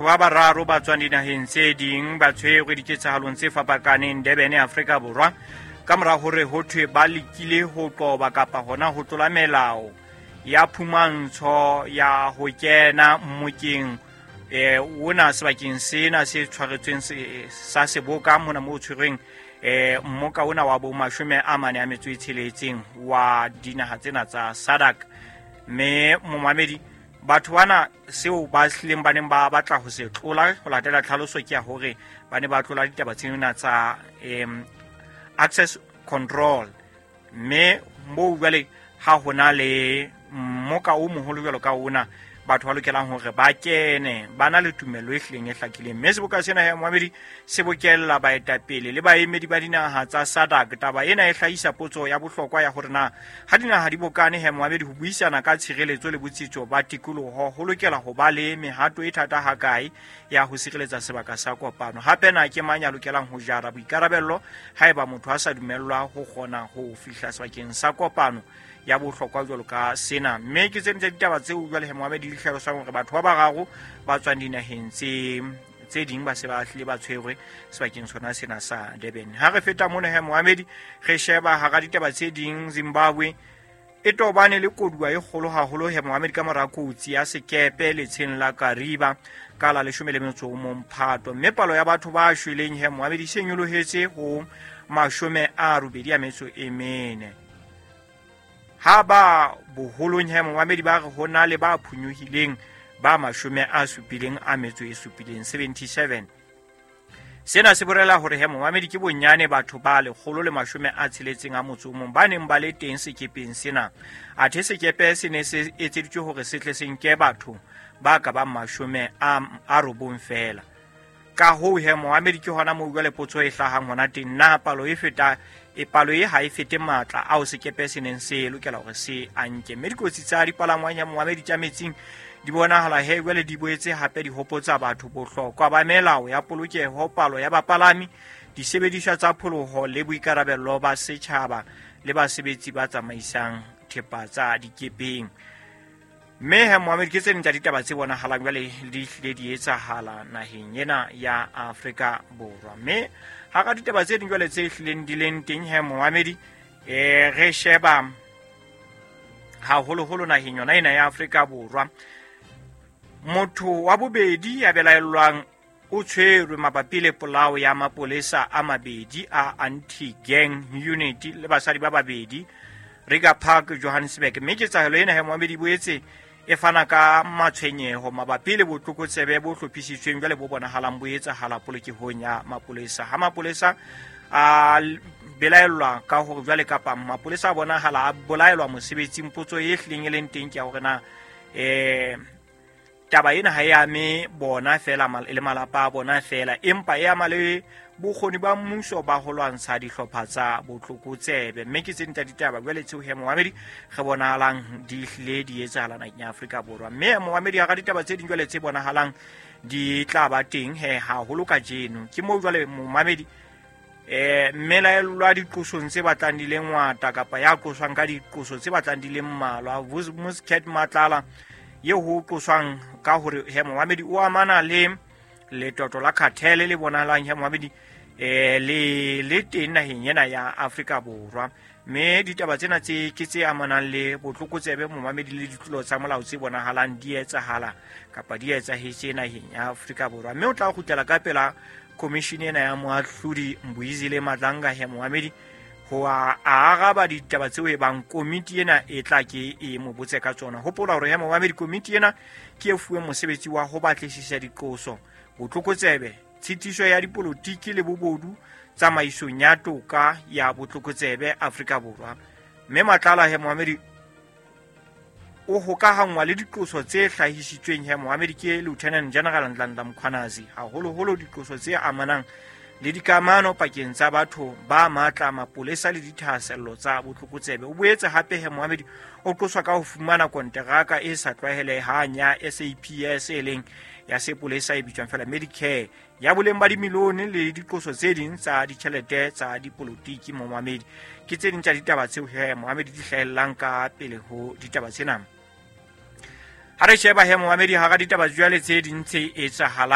Ba bararo ba tswang dinaheng tse ding ba tshwerwe diketsahalong tse fapakaneng Durban, Afrika Borwa, ka mora hore ho thwe ba lekile ho qoba kapa hona ho tlola melao ya phumantsho ya ho kena mmokeng ona sebakeng sena se tshwaretsweng sa seboka mona mo tshwerweng mmoka ona wa bo 46 wa dinaha tsena tsa SADC. Mme momamedi, batho bana seo ba hlileng ba neng ba batla ho se tlola ho latela tlhaloso ke ya hore ba ne ba tlola ditaba tsena tsa access control, mme moo jwale ha hona le mmoka o moholo jwalo ka ona batho ba lokelang hore ba kene ba na le tumelo e hlileng e hlakileng. Mme seboka sena ya moamedi se bokella baetapele le baemedi ba dinaha tsa SADC. Taba ena e hlahisa potso ya bohlokwa ya hore na ha dinaha di bokane he moamedi ho buisana ka tshireletso le botsitso ba tikoloho ho lokela ho ba le mehato e thata hakae ya ho sireletsa sebaka sa kopano. Hape na ke mang ya lokelang ho jara boikarabello haeba motho a sa dumellwa ho kgona ho fihla sebakeng sa kopano ya bohlokwa jwalo ka sena. Mme ke tse ding tsa ditaba tseo jwale he moamedi di hlalosang hore batho ba bararo ba tswang dinaheng tse ding ba se ba hlile ba tshwerwe sebakeng sona sena sa Durban. Ha re feta mona he moamedi re sheba hara ditaba tse ding, Zimbabwe e tobane le koduwa e kgolo haholo he moamedi ka mora kotsi ya sekepe letsheng la Kariba ka la 11 Phato, mme palo ya batho ba shweleng he moamedi se nyolohetse ho 84. Ha ba boholong he moamedi ba re ho na le ba phunyohileng ba 77 77. Sena se bolela hore he moamedi ke bonyane batho ba 161 ba neng ba le teng sekepeng sena. Athe sekepe se ne se etseditswe hore se tle se nke batho ba ka bang 90 feela. Ka hoo he moamedi ke hona moo jwale potso e hlahang hona teng, na palo e feta e palo e ha e fete matla ao sekepe se neng se lokela hore se a nke. Mme dikotsi tsa dipalangwang ya moamedi tsa metsing di bonahala he jwale di boetse hape di hopotsa batho bohlokwa ba melao ya polokeho, palo ya bapalami, disebediswa tsa pholoho le boikarabello ba setjhaba le basebetsi ba tsamaisang thepa tsa dikepeng. Mme he moamedi ke tse ding tsa ditaba tse bonahalang jwale di hlile di etsahala naheng ena ya Afrika Borwa. Mme hara ditaba tse ding jwale tse hlileng di leng teng he moamedi, re sheba haholoholo naheng yona ena ya Afrika Borwa, motho wa bobedi ya belaellwang o tshwerwe mabapi le polao ya mapolesa a mabedi a anti-gang unit le basadi ba babedi Reiger Park, Johannesburg. Mme ketsahalo ena he moamedi boetse e fana ka matshwenyeho mabapi le botlokotsebe bo hlophisitsweng jwale bo bonahalang bo etsahala polokehong ya mapolesa. Ha mapolesa a belaellwa ka hore jwale kapa mapolesa a bonahala a bolaelwa mosebetsing, potso e hlileng e leng teng ke ya hore na taba ena ha e ame bona feela le malapa a bona feela, empa e ama le bokgoni ba mmuso ba ho lwantsha dihlopha tsa botlokotsebe. Mme ke tse ding tsa ditaba jwale tseo he moamedi re bonahalang di hlile di etsahala naheng ya Afrika Borwa. Mme moamedi hara ditaba tse ding jwale tse bonahalang di tla ba teng he haholo kajeno ke moo jwale momamedi mmelaellwa diqosong tse batlang di le ngata kapa ya qoswang ka diqoso tse batlang di le mmalwa, Muscat Matlala eo ho qoswang ka hore he moamedi o amana le letoto la cartel le bonahalang he moamedi le teng naheng ena ya Afrika Borwa. Mme ditaba tsena tse ke tse amanang le botlokotsebe momamedi le ditlolo tsa molao tse bonahalang di etsahala kapa di etsahetse naheng ya Afrika Borwa. Mme o tla kgutlela ka pela commission ena ya moahlodi Mbuyisile Madlanga he moamedi ho a araba ditaba tseo e bang komiti ena e tla ke e mo botse ka tsona. Hopola hore he moamedi komiti ena ke e fuwe mosebetsi wa ho batlisisa diqoso, botlokotsebe, tshitiso ya dipolotiki le bobodu tsamaisong ya toka ya botlokotsebe Afrika Borwa. Mme Matlala he moamedi o hokahanngwa le diqoso tse hlahisitsweng he moamedi ke Lieutenant General Nhlanhla Mkhwanazi, haholoholo diqoso tse amanang le dikamano pakeng tsa batho ba matla, mapolesa le dithahasello tsa botlokotsebe. O boetse hape he moamedi o qoswa ka ho fumana konteraka e sa tlwaelehang ya SAPS e leng ya sepolesa e bitswang fela Medicare ya boleng ba dimilione le diqoso tse ding tsa ditjhelete tsa dipolotiki. Moamedi ke tse ding tsa ditaba tseo he moamedi di hlahellang ka pele ho ditaba tsena. Ha re sheba he momamedi, hara ditaba jwale tse ding tse etsahalang.